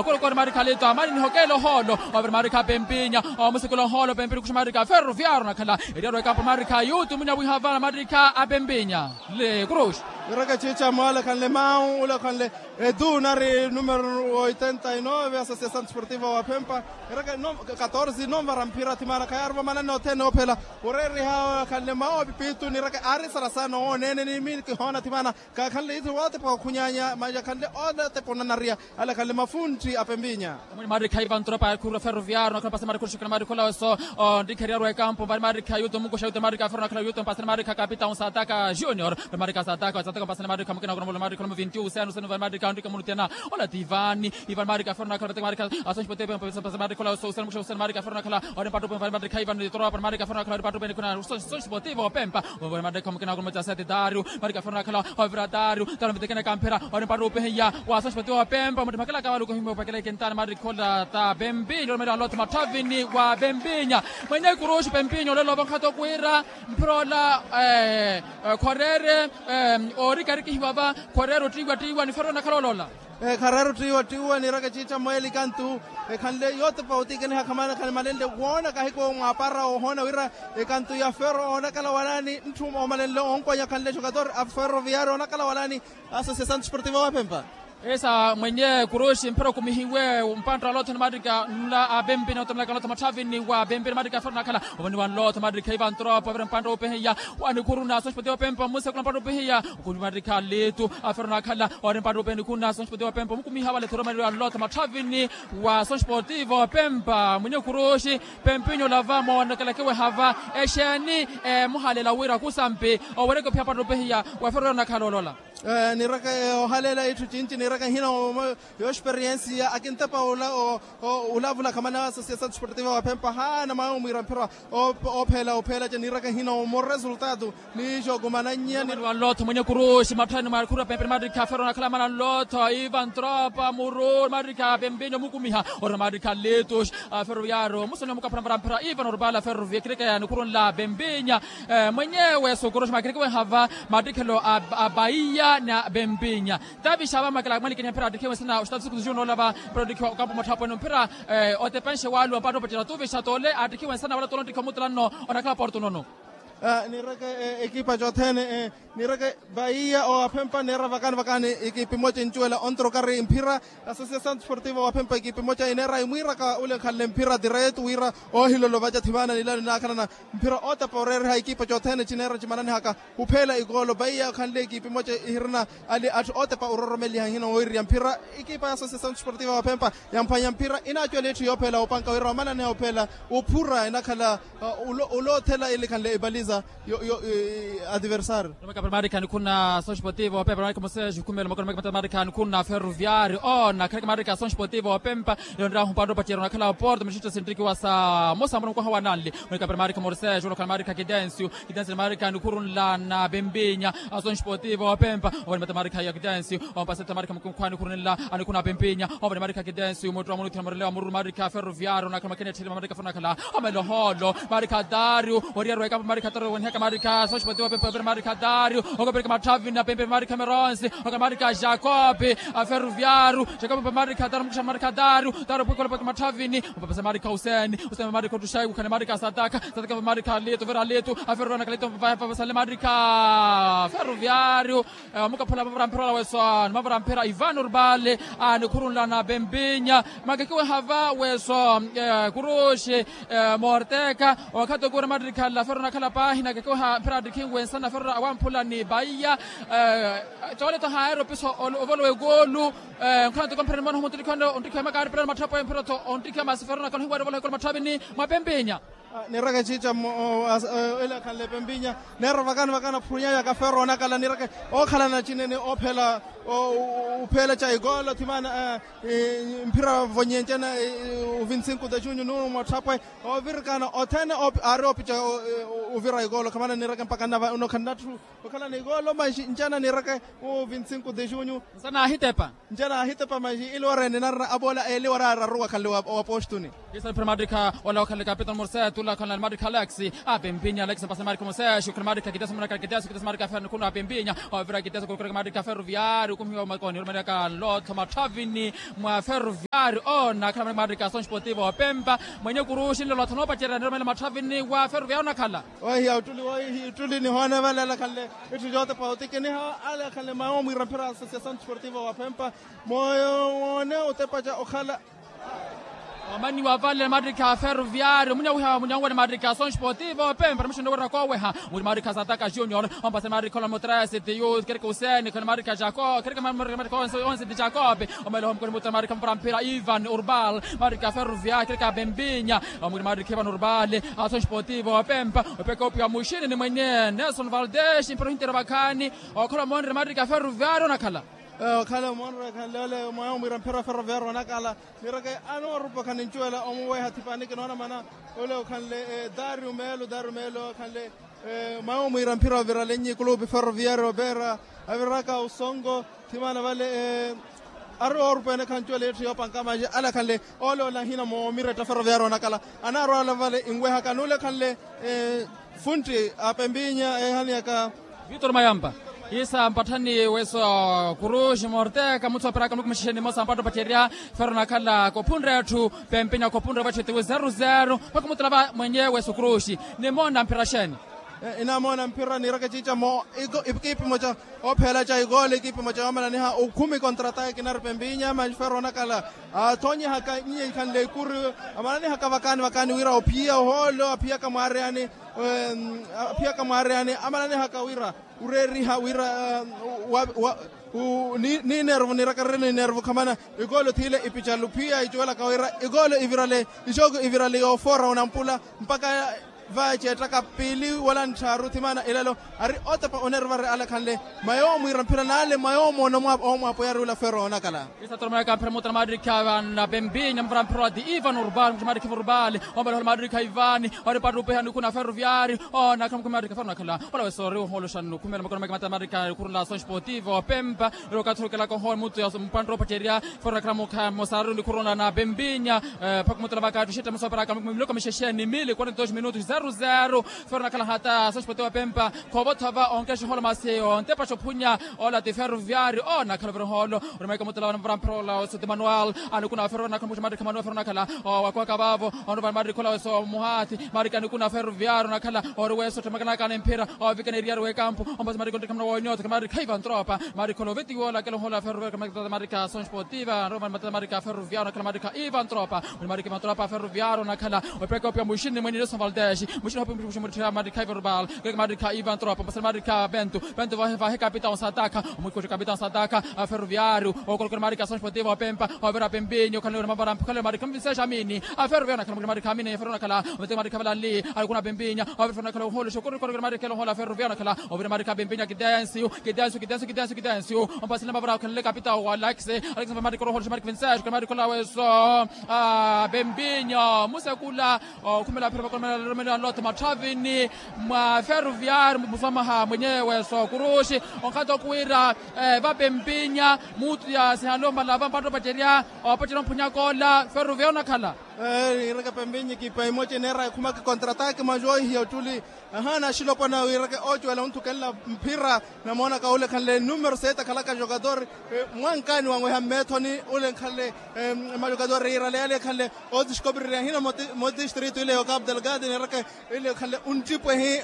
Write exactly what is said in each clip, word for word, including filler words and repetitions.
Kuri kuri marikha lito amani nihokeela ohoolo. Ovira marikha pempinya omusikula ohoolo pempinya kuxa marikha ferroviario nakhala. Eriyaro ekampo marikha yutu munya wihava na marikha a pempinya. Le cruz. Iraka chicha mwale khanle mau ula khanle edu nari numero oitenta y nove asociação desportiva wa phempa. Iraka katorze nomvara mphira thimana khayari vamanani othene ophela. Oreriha khanle mau apipitu niraka ari sarasano onene nimi kihoona thimana. Kakhanle ithi wotepa okhunyanya maya khanle otepa onanariya. Ala khanle mafunthi a pempinya. Marikha ivan tropa khurwa ferroviario nakhala pasa marikha oxikana marikha olaweso. Ontikheriyarwa ekampo vari marikha yuto mukuxa yuto marikha ferro nakhala yuto mpasani marikha capitão sataka junior. Vari marikha sataka sataka mpasani marikha mukina kuna mula marikha olamu vinti usenu usenu vari marikha ontika munutena. Ola ti ivani ivani marikha ferro nakhala vateka marikha asonxi pote pasa marikha olaweso usenu mukuxa usenu marikha ferro nakhala ori mpattu pwe vari marikha ivan tropa marikha ferro nakhala ori mpattu pwe nikuna sonxi pote ivo pempa. Ori marikha mukina kuna mula sete dario. Marikha ferro nakhala ovira dario. Tano vitekene kamphira ori mpattu upehiya wa sonxi pote ivo pempa muti makela kavaluko himwe opakela ikentani marikha ola ta pempinya ori mali wanlotha mathavini wa pempinya. Mwenye kuruxi pempinya olelo ovankhato kwira mphira ola khorere. Ori karikihiwa va khorere ottiiwa ttiiwa ni ferro nakhala olola. Khararu ttiiwa ttiiwa niraka chicha mweli kantu ekhanle yotepa otikeniha khamana khani malenle woona kahiko mwapara ohoona wira ekantu ya ferro onakala walani ntthuma omalenle onkwanya khanle jogador a ferroviario onakala walani. Asociação desportiva wa phempa. Esa mwenye kuruxi mphira okumihiwe mpantta wa lotho ni marika nla a pempi na otamilaka lotho mathavini wa pempi ni marika ferro nakhala. Ovani wa nlotho marika ivan tropa ovira mpantta opehiya wa nikhuru na asociação desportiva wa phempa mmusekula mpantta opehiya. Okumi marika litu a ferro nakhala. Ori mpattu openi khunna sonxi potivo pempa omukumiha vale thuromani wa nlotha mathavini wa sonxi potivo pempa mwinyi okhuruxi. Pempinyo lava moonekela kiwehava exeeni. Muhalela wira kusampi owereke ophiya mpattu opehiya wa ferro nakhala olola. Niraka ohaleela itthu cinci niraka nhina omo yoxperiensiya akintepa olavula khamana asosiasato esportiva wa phempa haana mwawe omwiira mphira. Opheela opheela ca niraka nhina omo resultado. Niixo kumananyiya ni wanlotho mwenye kuruxi matthani mwa khurwa pempeni marikha ferro nakhala mana nlotho ivan tropa muru marikha pempinyo mukumiha. Ori marikha litus a ferro yaro musoni omukaphura mara mphira ivan orupala ferro via kirikeya nikhurunla pempinya. Mwenyewe sukuruxi makirikiwe hava mattikhelo a paiya na pempinya. Tavixava makela mwalikenya mphira attikhiwe nsana oxitatu siku zixu noolava mphira ottikhiwa okampo motthapwene mphira. Otepenxe waluwa mpatta opattira tuvixa tole attikhiwe nsana wala tole onttikhiwa muttulanno. Onakhala porto nono. Nireke ekipa cothene nireke vaiya owaphempa neera vakani vakani ekipa emoca encuwela ontrokari mphira. Asosiasato esportiva owaphempa ekipa emoca ineera imwiiraka ule nkhanle mphira tiretu wira ohilolo vaca thivana nilano naakhalana. Mphira otepa oreereha ekipa cothene cineera cimananihaka. Upheela ikoolo vaiya okhanle ekipa emoca ihirina ali atthu otepa ororomeliha nhina woiriya mphira. Ekipa ya asosiasato esportiva owaphempa yamphwanya mphira inaacuwela itthu yoopheela opanka wira omananiha opheela. Ophura enakhala oloothela ilikhanle epaliza yo yo. Adversario. Marikha nikhuna sonxi potivo opempa marikha mosejo khumelo makoni makimata marikha nikhuna ferroviario ona kharikha marikha sonxi potivo opempa. Yonrahu mpantta opatiyerya onakhala oporto mixitto sintrikiwa sa mosa muna mukwaha wa nanli. Marikha pera marikha morsejo onakhala marikha kitencio. Kitencio ni marikha nikhurunla na pempinya. Asonxi potivo opempa ovani mata marikha ya kitencio. Ompaseta marikha mukhwani khurunla anikhuna pempinya. Ovani marikha kitencio muttu wa munuthina morelewa mururu marikha ferroviario onakhala makene etthele mamarikha fo onakhala. Omelo hoolo marikha dario. Oriyari wa ekampo marikha dario wenihaka marikha soxi potivo pempa ovira marikha dario. Okapirika mathavini apempe marikha meronsi okala marikha jacob. Aferroviario jacob pempa marikha dario mukuxa marikha dario. Dario pwikola pweke mathavini opapasa marikha useni useni marikha ottuxayi kukhale marikha sataka sataka pempa marikha litu ovira litu. Aferroviario nakhala litu pepapasale marikha ferroviario. Omukaphula mavara mphira olaweso nimavara mphira ivan urbale. Anikhurunla na pempinya. Makekiwe hava weso kuruxi morteka. Wakhato kura mattikhala ferro nakhala paahi nakekiwe ha mphira attikhinwe nsana ferro awamphula ni paiya. Coole to haayari opiso ovolowa ekoolu. Nkhala ntoko mphira nimona homo onttikhiwa makaari pelano matthapwe mphira tho onttikhiwa masi ferro nakhala ohiwaari ovolowa ekoolu matthapini mwa pempinya. Nireke cica mmo ela khanle pempinya. Neera vakani vakani aphunyayaka ferro onakala nireke okhalana cinene ophela. Uphela ca ikoolo thimana mphira vonyencena. Uvinsinko ta junyu nunu motthapwe ovirikana othene aari opica. Uvira Ikoolo khamana nireke mpakha nnava uno khannathu okhala n'ikoolo maxi ncana nireke. Mu vinti sinku de junyu. Nsa naahitepa. Ncana ahitepa maxi iliwara ene narina aboola eliwara araru wakhanle wa postuni. Isa mphira maadrikha ola wakhanle kapitani mursetu ola wakhanle maadrikha alex. Apempinya alex mpasa maadrikha mursetu okhanle maadrikha kiteso maadrikha kiteso kiteso maadrikha ferro nikhuna apempinya. Ovira kiteso kurukura maadrikha ferroviari okumihiwa makoni orumelaka nlotho matthavini mwa ferroviari ona akhala maadrikha sonsportivo opempa. Mwenye kuruxi nlolotho noopacerya nirumelela matthavini wa ferroviari onakhala. Waihiya ottuli waihiya ottuli nihoona vale alakhanle itthu jootepa otikiniha alakhanle mayo mwiira mphira associação desportiva wa phempa. Moyo woone otepaca okhala. Omaniwa vale maadrikha ferroviari omunyawiha munyawiwani maadrikha sonsportivo pempa ramishi nowira kooweha. Muri maadrikha sataka junior ompase maadrikha ola mutresi tiyu kereke useni khona maadrikha jako kereke maadrikha onse ti jakope. Omele homukoni mutra maadrikha mpara mphira ivan urbal maadrikha ferroviari kereke apempinya. Omwiri maadrikha ivan urbal. Aso nxipotivo opempa opeka opiwa muxini ni mwenye nelson valdez mpira ohintera vakhaani. Okhala omoonre maadrikha ferroviari onakhala. Okhala omoonre khanle ole mwaha omwiira mphira ferroviari onakhala. Nireke anoorupa khanincuwela omuweha thipaani kinoona mana. Ole okhanle dario meelo dario meelo okhanle mwaha omwiira mphira ovirale nyi kulupi ferroviari opeera aviraka osonko. Thimana vale ari oorupa ene khancuwela itthu yoopanka maji alakhanle. Ole ole ahina moomiretta ferroviari onakhala anaarwala vale inwehaka nuulekhanle. Funtti apempinya ehaniyaka. Vitor mayampa isa mpatthani weso kuruxi morteka muthu aperaka muluku muxixeni mmosa mpatta opacerya. Ferro nakhala kophunre etthu pempinya kophunre vatthu etiwe zero zero mpakha omutula va mwenye weso kuruxi. Nimoona mphira xeeni? Inamoona mphira niiraka ciica mo ikipi moca. Opheela ca ikoolo ekipi moca yoomalaniha okhumi kontra ataki nari pempinya maferro onakhala. Athonyihaka nyinyikhanle ikuru amananihaka vakaani vakaani wira ophiya ohoolo aphiyaka mwaareyani. Aphiyaka mwaareyani amananihaka wira ureeriha wira niinervu niiraka riri niinervu khamana. Ikoolo thiile ipicalu phiya icuwelaka wira ikoolo ivirale ixooku ivirale yoofoora onampula mpakha vaceettaka piili wala ntthaaru thimana ilelo ari otepa oneervari alakhanle. Mayo omwiira mphira naale mayo omoona omwaapweyari ula ferro onakhala. Isatoromeyaka mphira muutana maadrikha napempinya mvara mphira wa ti ivan urbal mutha maadrikha ivan urbal. Ombelehola maadrikha ivani ori patta upeha nikhuna ferroviari onakhala mukhumi maadrikha ferro onakhala. Ola weso ori oholoxa nukhumela makono meke mata maadrikha nikhuru nla ason sportivo opempa. Ero okathi orukelaka ohowa muttu ya mpantta opacerya. Ferro nakhala mukha mosararu nikhuru nla napempinya. Mpakha omutula vaka attuxetta musoperaka miloko mixexe ni mili quarenta dos minutos zero zero. Ferro nakhala hata ason sportivo opempa. Khovotha va onkexa ohola masi ontepaxa ophunya ola ti ferroviari onakhala ovira ohoolo. Orumaika omutula vana mvara mphira ola oso ti manual. Anikuna ferro nakhala muxi maadrikha manual ferro nakhala. Wakwaka vavo onruvani maadrikha ola weso muhathi maadrikha anikuna ferroviari onakhala. Ori weso ottemakanaka ni mphira ovikana eriyari w'ekampu. Ompasi maadrikha onrikha muna wonyotho kamaadrikha ivan tropa. Maadrikha ola ovetiwa ola akela ohola ferroviari kamaadrikha son sportiva anruvani maadrikha ferroviari onakhala maadrikha ivan tropa. Muni maadrikha ivan tropa ferroviari onakhala. Opeka opiwa muxini mwenye nelson valdez. Muxini hopi muxi muritthira maadrikha ivan tropa. Keke maadrikha ivan tropa ompasani maadrikha bento. Bento vahe kapitao sataka. Omwikoxi kapitao sataka. Ferroviari okolokera maadrikha son sportiva opempa. Ovira pempinya okhanle mavara mphukhanle maadrikha mvisexa amini. Aferroviari onakhala mukina maadrikha amini aferro onakhala. Ometeka maadrikha valanli. Alikuna pempinya. Aferro onakhala ohoolo xokorikori maadrikha elohoolo aferroviari onakhala. Ovira maadrikha pempinya kitensiu kitensiu kitensiu kitensiu kitensiu. Ompasile mavara okhanle kapitao wa alakisi. Alakisi maadrikha ohoolo xa maadrikha vinsexa okhanle maadrikha ola weso. Pempinya musekula. Okhumela aphira vakonomela romelo anlotho matthavini mwa ferroviari muswamaha mwenyewe sokuruxi. Onkhato okuwira vapempinya mutu yasihanle omala vampatta opacerya. Opacerya omphunyaka ola ferroviari onakhala. Niireke pempinya ekipa emoca eneera ekhumaka econtrataki majo ihiya ottuli. Ahaana axilopwana wiireke ocuwela onthukelela mphira. Namoonaka ule ekhanle numero sete akhalaka jogador mwankaani wanweha mmeethoni. Ule nkhanle majogador yiirale yale ekhanle otisikopirirya hina. Modistritu ile yo capu delgado niireke ile ekhanle onttipwehi.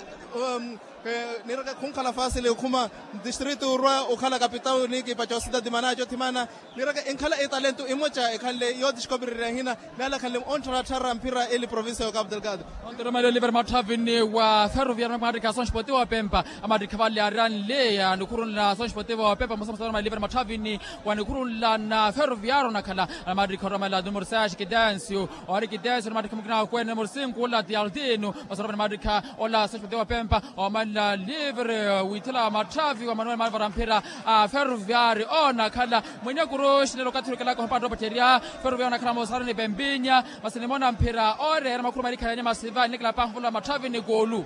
Niireke khunkhala fasili okhuma distritu orwa okhala kapitau ni ekipa cosidadi mana cothimana. Niireke enkhala etalentu emoca ekhanle yootisikopirirya hina. Nale akhanle onttharatthara mphira ili provincia yo capu delgado. Onteromela oliver matthavini wa ferroviari maattikha ason sportivo opempa. Amaattikha vale aranleya nikhurunla ason sportivo opempa musamusa oliver matthavini wa nikhurunla na ferroviari onakhala. Amaattikha oromela numero seis kitensiu ori kitensiu ni maattikha mukina akwene numero sinku ola ti altino. Masorova ni maattikha ola ason sportivo opempa. Omanla livre withela matthavi wa manuel malvara mphira a ferroviari onakhala. Mwenye kuruxi nelo okathi orukelaka ohopatta opacerya. Ferroviari onakhala mosarani pempinya. Masi nimoona mphira oreera makhuru malikhalanya masiva nilekela paahuvula matthavi ni kuulu.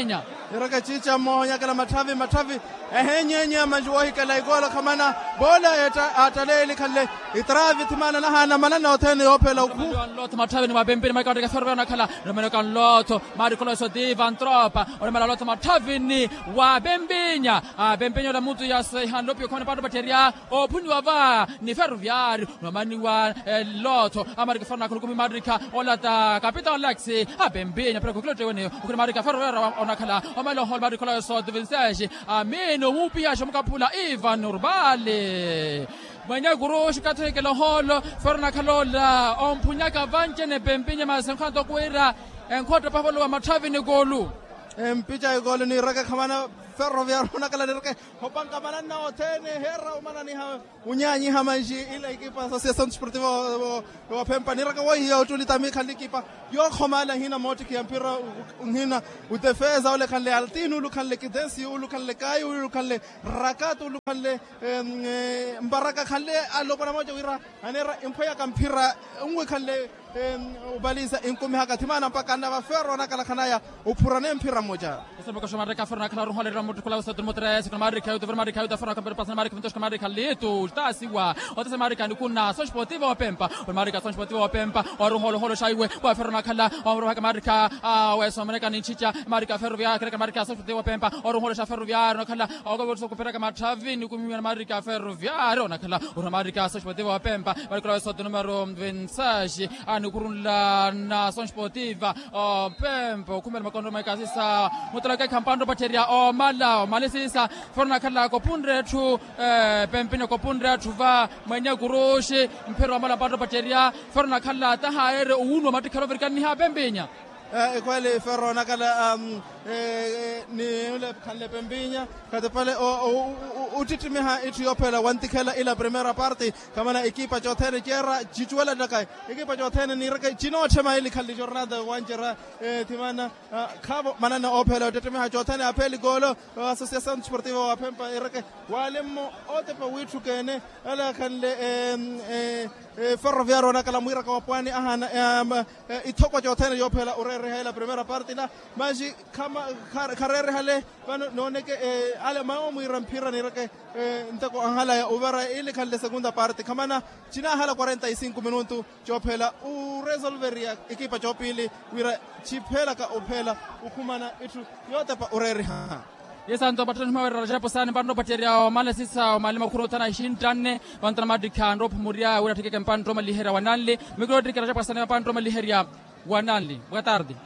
vempinya. Eraka ciica mmoha onyakela matthavi matthavi. Ehenyeenya manji woohikela ikoolo khamana. Bola aattaleeli khanle itraavi thimaana nahaana manana othene yoophela okhu. Matthavini wa vempinya maari kawatteka ferro veya onakhala. Romero kanlotho maari kholoso ti vantropa. Oromela lotho matthavini wa vempinya. Vempinya ola mutu yaseha nlopiyo khomene paatto patterya. Ophuniwa va ni ferroviario nomaniwa. Lotho amarika ferro nakhulukumi marika ola ta capitao laxi. Apempinya pero khukilotte weneyo okhuri marika ferro wera onakhala. Omaloho marika ola yosoto vinseshi. Amino omupihaxa omukaphula ivan urbali. Mwenye kuruxi kathihikela ohoolo, fero nakhala ola omphunyaka vanci-ene pempinya masi enkhoto khwiira enkhoto pavolo wa matthavi ni koolu. Empica ekoolo niiraka khamana, ferroviario nakhala niiraka opanka mananna othene heera omananiha. Unyaanyiha manji ila ekipa associação desportiva wa phempa niiraka woihiya ottuli tami khanle ekipa yookhomala nhina moottikhiya mphira, nhina udefesa ole khanle altino ulu khanle kidensi ulu khanle kayi ulu khanle rakatu ulu khanle mbaraka khanle alopwana mooca wira aneera emphweyaka mphira nwi khanle. Opalisa inkumihaka thimana mpakha annava ferro nakhalakhanaya ophurane mphira mmoca. Osemeka xamarika ferro nakhala oruholerera mutthukula wesatu ni mutresi kuna marika yutu vira marika yutu ferro nakhala pasa marika vintoxi marika litu tasiwa. Otesa marika nikuna soxpotiva opempa. Marika soxpotiva opempa oruholoholo xaiwe wa ferro nakhala omuruhaka marika. Wesomeneka ninchicha marika ferro vyakereka marika soxpotiva opempa oruholexa ferro vyaro nakhala. Okovottisa okuperaka matthavi nikumiwa na marika ferro vyaro nakhala. Oruha marika soxpotiva opempa. Marikula wesotu numero vinte e seis. Anikhurunla na soxpotiva opempa okhumela makondo maikasisa mutolokekha mpantta opatterya omala omalisisa. Foro nakhala kopunre etthu pempine kopunre atthu va mwenye kuruxi. Mphira omala mpantta opatterya foro nakhala taha yeere owunuwa mattikhela ovirikanniha pempinya. Ekweli fero nakhala ni ule khanle pempinya khatipale. Uttittimiha itthu yoophela wantikhela ila primera parte. Khamana ekipa cothene ceera cicuwela ttaka ekipa cothene niireke cinootthema ili khanle jornada wancerya. Thimana khaavo manana oophela ottettemiha cothene apheli koolo. Associação desportiva wa phempa iireke walemmo otepa wiitthukeene ale akhanle ferroviario onakhala mwiiraka wa pwaani ahaana ithokwa cothene yoophela oreereha ila primera parte ila manji khareerehale. Vano nooneke ale mawo mwiira mphira niireke nteko anhalaya ovara ili khanle segunda parte khamana cinahala quarenta e cinco minutu coophela oresolveriya ekipa coopiili wira ciphelaka ophela okhumana itthu yootepa oreeriha. Yesanto patthana nihuma wira rajapo saani mpantta opatterya omala sisa omali makhuru othana xinttanne. Vantana mattikha nrophumurya wira atthikeke mpantta omaliherya wa nanli. Mikiro ottikela japo saani mpantta omaliherya wa nanli boa tarde.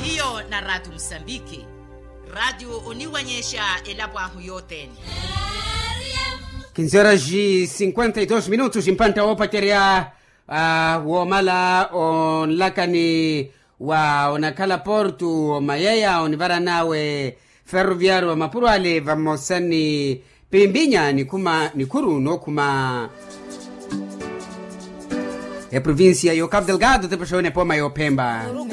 Hiyo na ratu musambiki. Ratu oniwanyexa elapo ahu yothene. Kinzera ji cinquenta e dos minutos mpantta woopacerya woomala onlakani wa onakhala portu omayeya onivaran'awe ferroviario wa mapuro ale vamosa ni pimpinya nikhuma nikhuru nookhuma eprovincia y'ocapo delgado tepexa yoona epooma y'ophemba.